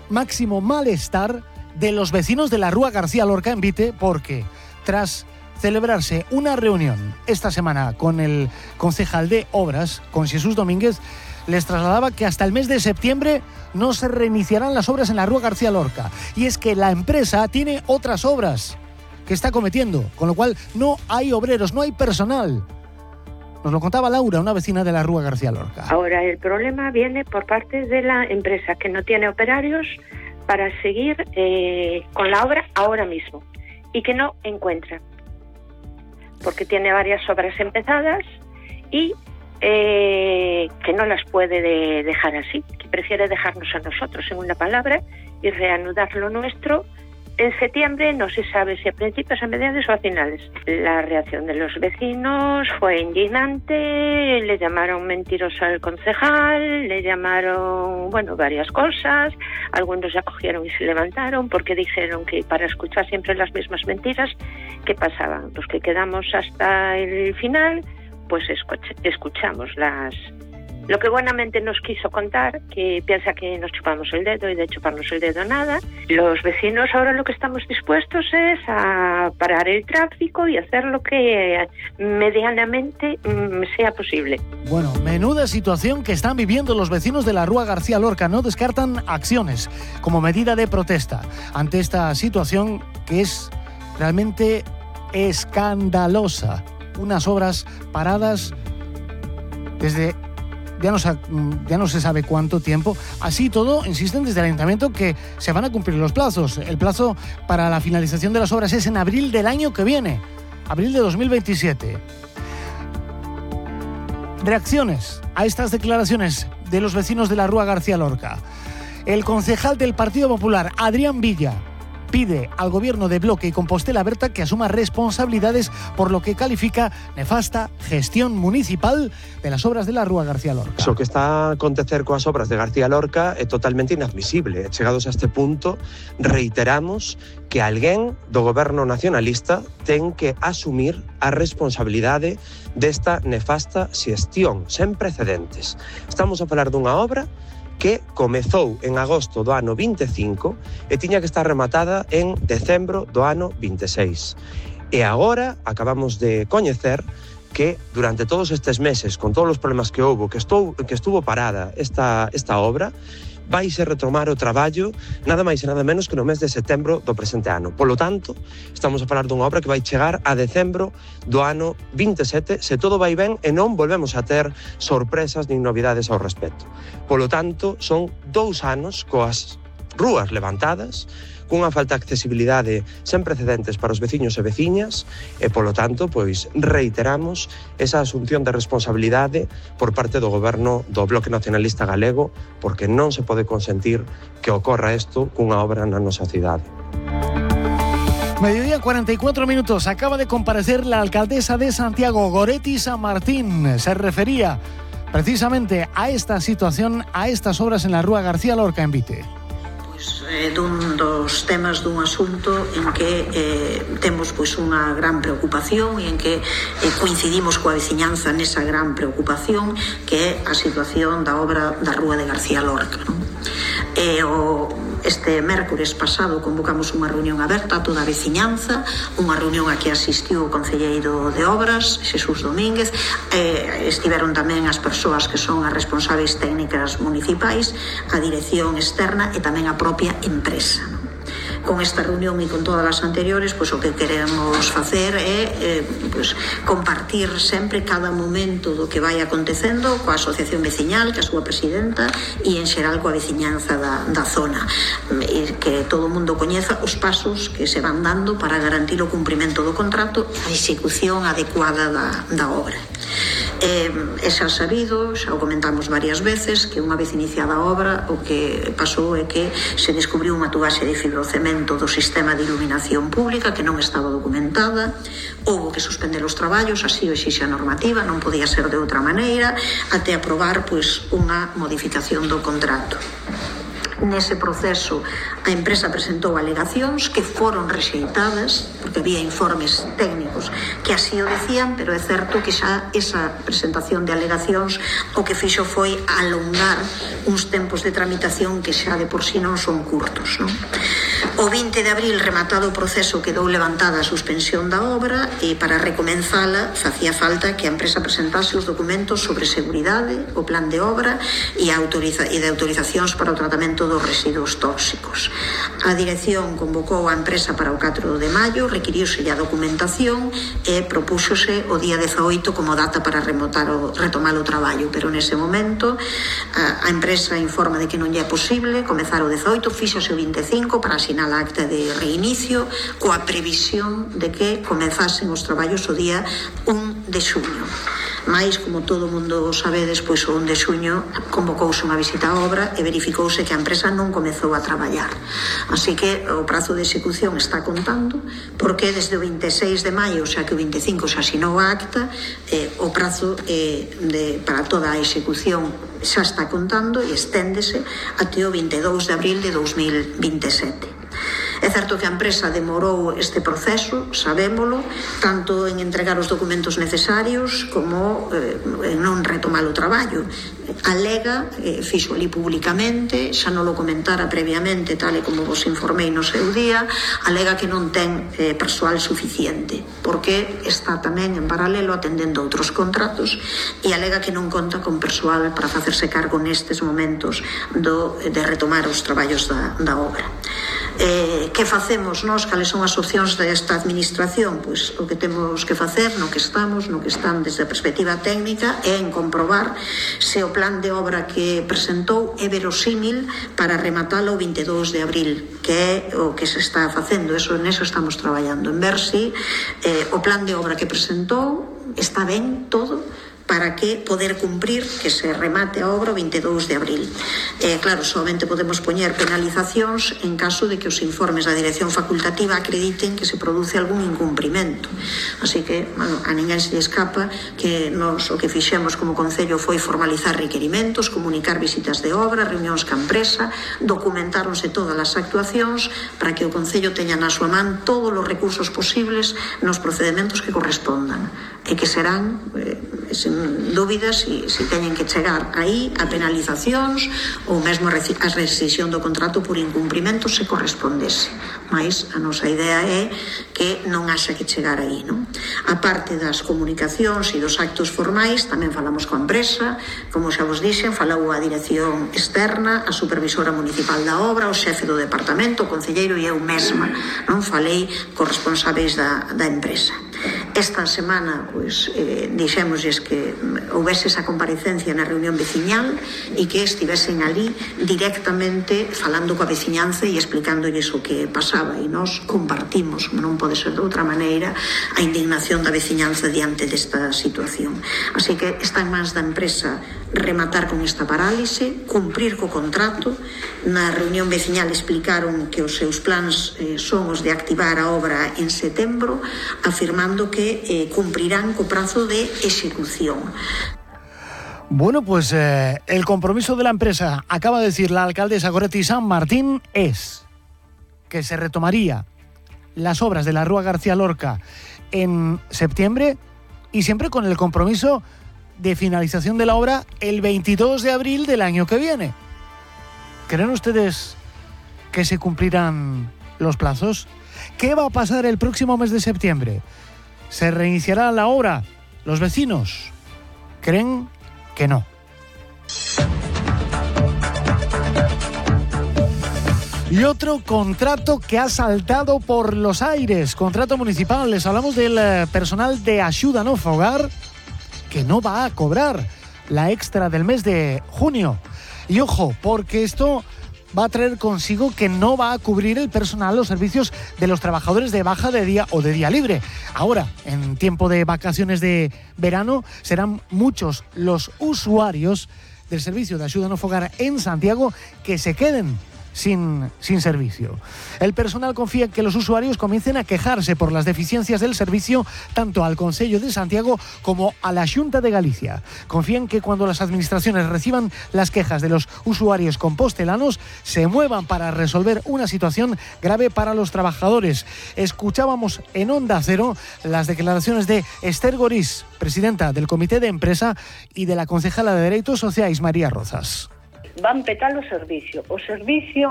máximo malestar de los vecinos de la Rúa García Lorca en Vite, porque tras celebrarse una reunión esta semana con el concejal de Obras, con Jesús Domínguez, les trasladaba que hasta el mes de septiembre no se reiniciarán las obras en la Rúa García Lorca. Y es que la empresa tiene otras obras que está cometiendo, con lo cual no hay obreros, no hay personal. Nos lo contaba Laura, una vecina de la Rúa García Lorca. Ahora el problema viene por parte de la empresa, que no tiene operarios para seguir con la obra ahora mismo y que no encuentra, porque tiene varias obras empezadas y que no las puede dejar así, que prefiere dejarnos a nosotros, en una palabra, y reanudar lo nuestro en septiembre. No se sabe si a principios, a mediados o a finales. La reacción de los vecinos fue indignante, le llamaron mentiroso al concejal, le llamaron, varias cosas. Algunos ya cogieron y se levantaron porque dijeron que para escuchar siempre las mismas mentiras, ¿qué pasaban? Los que quedamos hasta el final, pues escuchamos lo que buenamente nos quiso contar, que piensa que nos chupamos el dedo, y de chuparnos el dedo nada. Los vecinos ahora lo que estamos dispuestos es a parar el tráfico y hacer lo que medianamente sea posible. Bueno, menuda situación que están viviendo los vecinos de la Rúa García Lorca. No descartan acciones como medida de protesta ante esta situación que es realmente escandalosa. Unas obras paradas desde ya no se sabe cuánto tiempo. Así todo, insisten desde el ayuntamiento que se van a cumplir los plazos. El plazo para la finalización de las obras es en abril del año que viene, abril de 2027. Reacciones a estas declaraciones de los vecinos de la Rúa García Lorca. El concejal del Partido Popular, Adrián Villa, pide al gobierno de Bloque y Compostela Berta que asuma responsabilidades por lo que califica nefasta gestión municipal de las obras de la Rúa García Lorca. Eso que está a acontecer coas obras de García Lorca é totalmente inadmisible. Chegados a este punto, reiteramos que alguén do goberno nacionalista ten que asumir a responsabilidade desta nefasta xestión sen precedentes. Estamos a falar dunha obra que comezou en agosto do ano 25 e tiña que estar rematada en decembro do ano 26. E agora acabamos de coñecer que durante todos estes meses, con todos os problemas que houve, que estuvo parada esta obra, vaise retomar o traballo nada máis e nada menos que no mes de setembro do presente ano. Polo tanto, estamos a falar dunha obra que vai chegar a decembro do ano 27, se todo vai ben e non volvemos a ter sorpresas nin novidades ao respecto. Polo tanto, son 2 anos coas rúas levantadas, cunha falta de accesibilidade sen precedentes para os veciños e veciñas e, polo tanto, pois reiteramos esa asunción de responsabilidade por parte do goberno do Bloque Nacionalista Galego, porque non se pode consentir que ocorra isto cunha obra na nosa cidade. Mediodía 44 minutos. Acaba de comparecer la alcaldesa de Santiago, Goretti San Martín. Se refería precisamente a esta situación, a estas obras en la Rúa García Lorca en Vite. Dun dos temas dun asunto en que temos unha gran preocupación e en que coincidimos coa veciñanza nesa gran preocupación, que é a situación da obra da Rúa de García Lorca, non? Este mércores pasado convocamos unha reunión aberta a toda a veciñanza, unha reunión a que asistiu o concelleiro de Obras, Jesús Domínguez, estiveron tamén as persoas que son as responsáveis técnicas municipais, a dirección externa e tamén a propia empresa. Con esta reunión e con todas as anteriores, pois o que queremos facer é compartir sempre cada momento do que vai acontecendo coa asociación veciñal, que a súa presidenta, e en xeral coa veciñanza da zona, e que todo o mundo coñeza os pasos que se van dando para garantir o cumprimento do contrato e a execución adecuada da obra. É xa sabido, xa o comentamos varias veces, que unha vez iniciada a obra o que pasou é que se descubriu unha tubaxe de fibrocemento do sistema de iluminación pública que non estaba documentada, houbo que suspender os traballos, así o exixe a normativa, non podía ser de outra maneira, até aprobar unha modificación do contrato. Nese proceso a empresa presentou alegacións que foron rexeitadas porque había informes técnicos que así o decían, pero é certo que xa esa presentación de alegacións o que fixo foi alongar uns tempos de tramitación que xa de por sí non son curtos, non? O 20 de abril, rematado o proceso, quedou levantada a suspensión da obra e para recomenzala facía falta que a empresa presentase os documentos sobre seguridade, o plan de obra e de autorizacións para o tratamento dos residuos tóxicos. A dirección convocou a empresa para o 4 de maio, requiriuse a documentación e propúxose o día 18 como data para retomar o traballo, pero nese momento a empresa informa de que non lle é posible comezar o 18, fíxose o 25 para asinar a acta de reinicio coa previsión de que comezasen os traballos o día 1 de xuño. Mais, como todo o mundo sabe, despois o 1 de xuño convocouse unha visita á obra e verificouse que a empresa non comezou a traballar. Así que o prazo de execución está contando, porque desde o 26 de maio, xa que o 25 xa asinou a acta, o prazo para toda a execución xa está contando e esténdese até o 22 de abril de 2027. É certo que a empresa demorou este proceso, sabémolo, tanto en entregar os documentos necesarios como en non retomar o traballo. Alega, fixo ali públicamente, xa non lo comentara previamente, tal e como vos informei no seu día, alega que non ten persoal suficiente, porque está tamén en paralelo atendendo outros contratos e alega que non conta con persoal para facerse cargo nestes momentos de retomar os traballos da obra. Que facemos nós? Cales son as opcións desta administración? Pois o que temos que facer, no que están desde a perspectiva técnica, é en comprobar se o plan de obra que presentou é verosímil para rematalo o 22 de abril, que é o que se está facendo. Neso estamos traballando, en ver se o plan de obra que presentou está ben todo para que poder cumprir que se remate a obra o 22 de abril. Claro, solamente podemos poñer penalizacións en caso de que os informes da dirección facultativa acrediten que se produce algún incumprimento. Así que, a ninguén se lle escapa que nos o que fixemos como Concello foi formalizar requerimentos, comunicar visitas de obra, reunións ca empresa, documentáronse todas as actuacións para que o Concello teña na súa man todos os recursos posibles nos procedementos que correspondan e que serán, sen dúbidas, se teñen que chegar aí a penalizacións ou mesmo a rescisión do contrato por incumprimento se correspondese. Mais a nosa idea é que non haxa que chegar aí, non? A parte das comunicacións e dos actos formais, tamén falamos coa empresa, como xa vos dixen, falou a dirección externa, a supervisora municipal da obra, o xefe do departamento, o concelleiro e eu mesma, non? Falei cos responsáveis da empresa. Esta semana, dixémosles que houvese esa comparecencia na reunión veciñal e que estivesen ali directamente falando coa veciñanza e explicándolles o que pasaba, e nós compartimos, non pode ser de outra maneira, a indignación da veciñanza diante desta situación. Así que está en mans da empresa rematar con esta parálise, cumprir co contrato. Na reunión veciñal explicaron que os seus plans son os de activar a obra en setembro, afirmando que cumprirán co prazo de execución. Bueno, pues el compromiso de la empresa, acaba de decir la alcaldesa Goretti San Martín, es que se retomaría las obras de la Rúa García Lorca en septiembre y siempre con el compromiso de finalización de la obra el 22 de abril del año que viene. ¿Creen ustedes que se cumplirán los plazos? ¿Qué va a pasar el próximo mes de septiembre? ¿Se reiniciará la obra? ¿Los vecinos creen que no? Y otro contrato que ha saltado por los aires, contrato municipal. Les hablamos del personal de Axuda no Fogar, que no va a cobrar la extra del mes de junio. Y ojo, porque esto va a traer consigo que no va a cubrir el personal los servicios de los trabajadores de baja de día o de día libre. Ahora, en tiempo de vacaciones de verano, serán muchos los usuarios del servicio de Axuda no Fogar en Santiago que se queden sin servicio. El personal confía en que los usuarios comiencen a quejarse por las deficiencias del servicio tanto al Concello de Santiago como a la Xunta de Galicia. Confían que cuando las administraciones reciban las quejas de los usuarios compostelanos se muevan para resolver una situación grave para los trabajadores. Escuchábamos en Onda Cero las declaraciones de Esther Gorís, presidenta del Comité de Empresa, y de la concejala de Dereitos Sociais, María Rozas. Van petar o servicio